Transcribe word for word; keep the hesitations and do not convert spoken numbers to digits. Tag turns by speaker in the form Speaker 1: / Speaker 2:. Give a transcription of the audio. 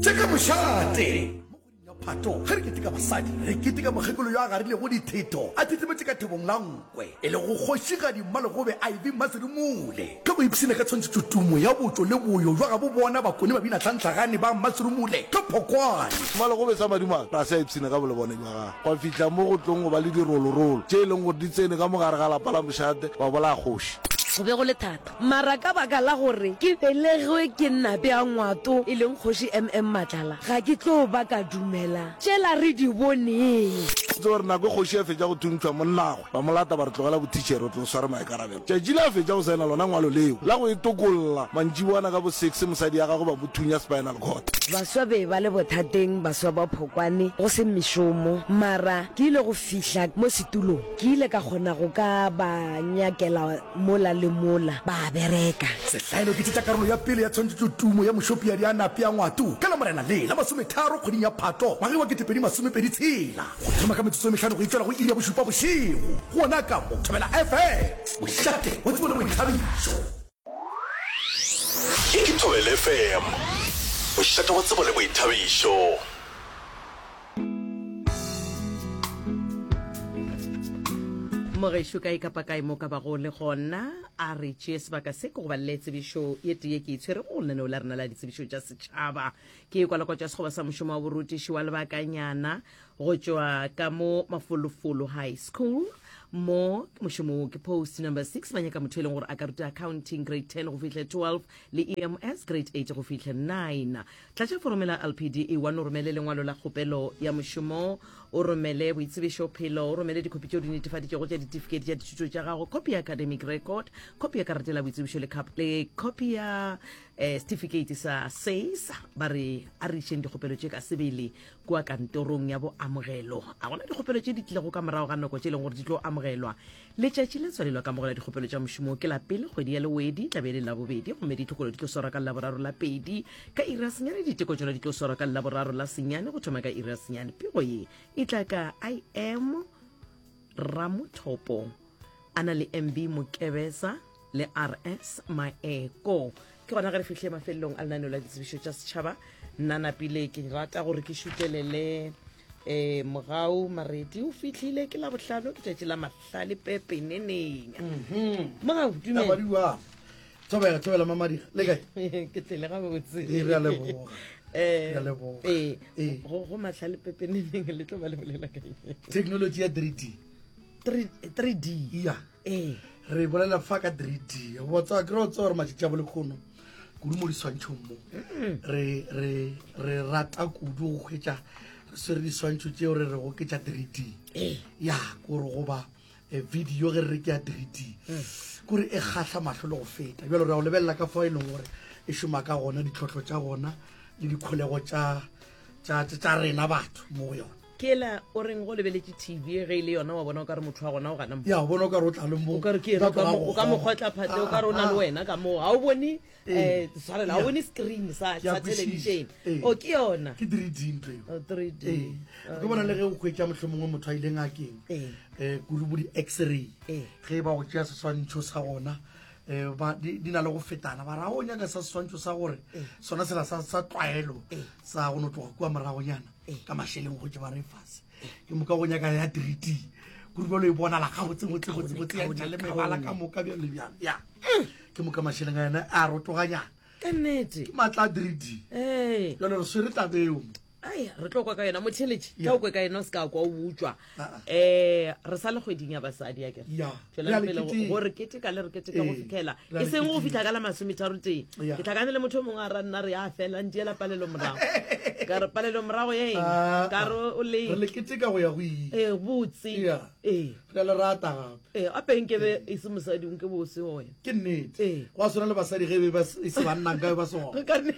Speaker 1: Tše ka mošate. Mo kgweding ya Phato, ge re keteka basadi, re keteka mokgekolo yo a garilego dithetho a thithimetše ka thebong la nkwe, e lego Kgošigadi Mmalegobe Ivy Mmaserumule. Ka go ipshina ka tshwantšhetšotumo ya botšo le boyo bja gabo bona Bakone Babinatlhanhlagane ba Mmaserumule ka Phokwane.
Speaker 2: Mmalegobe sa madimabe ga se a ipshina ka bolebone bja gagwe, gwa fihla mo go tlong go ba le dirolorolo tše e leng gore di tsene ka mo gare ga lapa la mošate ba bolaya kgoši.
Speaker 3: Go be go le thata. Mara ka baka la gore ke belegwe ke Nape a Ngwato, e leng Kgoši MM Matlala, ga ke tlo ba ka dumela tšela re di boneng.
Speaker 2: Tseba gore nako e kgoši a fetša go thuntšhwa monnagwe, ba mo lata ba re tlogela bothitšhere o tlo sware maikarabelo. Tšatši le a fetša go saena lona ngwalo leo la go itokolla, mantšiboana ka bo six mosadi ya gagwe ba mo thunya spinal cord.
Speaker 3: Baswa be ba le bothateng, baswa ba Phokwane, go se mešomo. Mara ke ile go fihla mo setulong, ke ile ka kgona go ka ba nyakela mola le mola, ba bereka.
Speaker 1: Sehlaelo ke tše tša karolo ya pele ya tshwantšhetšotumo ya Mošopiadi a Nape a Ngwato ka Lamorena le la masometharo kgweding ya Phato ngwageng wa kete pedi masomepedi tshela go thoma ka metsotso e mehlano go itšwela go iri ya bošupa bošego gona ka mo Thobela F M, mošate wa tsebo le boithabišo.
Speaker 4: Ye ke Thobela F M, mošate wa tsebo le boithabišo.
Speaker 5: Mogešo kae kapa kae mo ka bago le gona, a re tšee sebaka se ke go balele tsebišo ye tee ye ke e tshwerego go lenaneo la rena la ditsebišo tša setšhaba. Ke kwalakwatšo ya sekgoba sa mošomo wa borutiši wa lebakanyana go tšwa ka mo Mafolofolo High School. Mo mošomo wo ke post number six, ba nyaka motho e leng gore a ka ruta accounting grade ten go fihla twelve le E M S grade eight go fihla nine. Tlatša foromo la L P D E one, o romele lengwalo la kgopelo ya mošomo, o romele boitsebišo phelo, o romele dikhopi tšeo di netefaditšego tša ditifikeiti tša dithuto tša gago, copy ya academic record, copy ya karata la boitsebišo le cup- le copy ya eh, certificate sa SACE. Ba re a re išeng dikgopelo tše ka sebele kua kantorong ya boamogelo. A gona dikgopelo tše di tlilego ka morago ga nako tše e leng gore di tlo amogelwa. Letšatši la tswalelo ka amogela dikgopelo tša mošomo ke la pele kgwedi ya Lewedi, tla be e le Labobedi, gomme ditlhokolo di tlo swarwa ka Laboraro la pedi ka iri ya senyane. Diteko tšona di tlo swarwa ka Laboraro la senyane go thoma ka iri ya senyane. Pego ye e tla ka I M Ramothopo a na le M B Mokebesa le R S Maeko. Ke gona ge re fihle mafelelong a lenaneo la ditsebišo tša setšhaba. Nna napile ke rata gore ke šutelele um Mogau Maredi o fihlile. Ke Labohlano, ke tšatši la mahlale pepeneneng. Mogau, dumela.
Speaker 6: Tabadiwa. Thobela, thobela Mamadira. Le kae?
Speaker 5: Ke tlele gabotse.
Speaker 6: Ee, re a leboga.
Speaker 5: Eh,
Speaker 6: Re a leboga.
Speaker 5: Ee.
Speaker 6: Ee.
Speaker 5: go go mahlale pepeneneng le tlo ba le bolela ka eng?
Speaker 6: Technology ya three D.
Speaker 5: three D?
Speaker 6: Ya.
Speaker 5: Ee.
Speaker 6: Re bolela fa ka three D. Go tswa ke re tswa gore matšatši a bolekgono kudu mo diswantšhong mo. Re re re rata kudu go hwetša re swere diswantšho tšeo re re go ke tša three D.
Speaker 5: Ee.
Speaker 6: Ya, kore goba eh, video ge re re ke ya three D. Kore e kgahla mahlo le go feta. Bjalo re a go lebelela ka fao e leng gore e šoma ka gona, ditlhohlo tša gona le dikholego tša tša tša tša rena batho mo go yona.
Speaker 5: Ke la o reng go lebeletše T V ge e le yona wa bona o ka re motho wa gona o gana mo.
Speaker 6: Ya, o bona o ka re o tla le mo.
Speaker 5: O ka re ke ena, o ka mo- o ka mo kgotla phatle, o ka re o na le wena ka moo. Ga o bone um tshwarela, ga o bone screen sa
Speaker 6: Ke a
Speaker 5: sa
Speaker 6: kwešiša.
Speaker 5: television.
Speaker 6: Ee.
Speaker 5: O ke yona.
Speaker 6: Ke three D ntho eo.
Speaker 5: O three D.
Speaker 6: Ee, ke bona le ge o hwetša mohlomongwe motho a ile ngakeng,
Speaker 5: Ee.
Speaker 6: um kudu bo di-x-ray,
Speaker 5: Ee.
Speaker 6: ge ba go tšea seswantšho sa gona, um ba di di na le go fetana. Ba ra o nyaka sa seswantšho sa gore sona sela sa sa tlwaelo sa go no tloga kua moragonyana ka mašeleng go tše ba re fase, ke moka go nyaka ya three D kudu bjalo e bonala gabotsebotsebotsebotse ya ntšha le mebala ka moka bjalo le bjalo. Ya, ke moka mašeleng a yona a rotoganyana.
Speaker 5: Ka nnete.
Speaker 6: Ke maatla a three D.
Speaker 5: Ee.
Speaker 6: Jalo re swere tabeo.
Speaker 5: Ai, re tlo kwa ka yona motheletše.
Speaker 6: Ya.
Speaker 5: Tla o kwe ka yona, o se ka kwa o utswa.
Speaker 6: Ah, ah.
Speaker 5: um re sa le kgweding ya basadi, a kere?
Speaker 6: Ya.
Speaker 5: Tšwelang
Speaker 6: Re a le
Speaker 5: pele go-
Speaker 6: keteka.
Speaker 5: go re keteka le re keteka go
Speaker 6: Ee,
Speaker 5: fitlhela
Speaker 6: re a
Speaker 5: e
Speaker 6: le
Speaker 5: seng go
Speaker 6: keteka.
Speaker 5: fitlha ka la masometharo tee.
Speaker 6: Ya.
Speaker 5: Ke tlhakane le motho o mongwe a ra nna re a fela ntiela palelo morago, ka re palelo morago ya eng?
Speaker 6: Ah,
Speaker 5: Ka re o
Speaker 6: re le
Speaker 5: le
Speaker 6: keteka go ya go ile.
Speaker 5: Ee, botse.
Speaker 6: Ya.
Speaker 5: Ee.
Speaker 6: Re a le rata gape.
Speaker 5: Ee, ape nkebe e se mosadi nke bo o se wena.
Speaker 6: Ke nnete.
Speaker 5: Ee.
Speaker 6: Go a swana le basadi ge be ba se- e se banna nkabe ba se gona.
Speaker 5: Ka nne-